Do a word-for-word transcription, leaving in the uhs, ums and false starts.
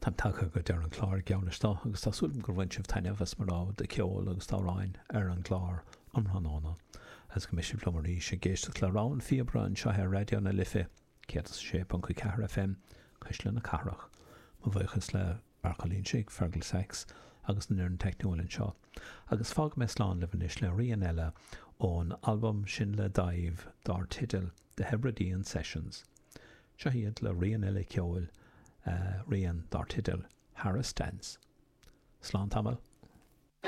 Táim tagtha go deireadh an chláir geall leis agus tá súil agam gur bhain sibh taitneamh as mo rogha de cheol agus d'amhráin ar an gclár um thráthnóna agus go mbeidh sibh liom arís ag éisteacht le Rogha an Phíobaire anseo ar Raidió na Life céad is a sé ponc a ceathair FM, Cuisle na Cathrach. Mo bhuíochas le Marc Ó Loingsigh, Fergal Sachs agus an fhoireann teicniúil anseo. Agus fágfaidh mé slán libh anois le rian eile ón albam sin le Daimh dar teideal The Hebridean Sessions. Seo iad le rian eile ceoil, rian dar teideal Harris Dance. Slán tamall.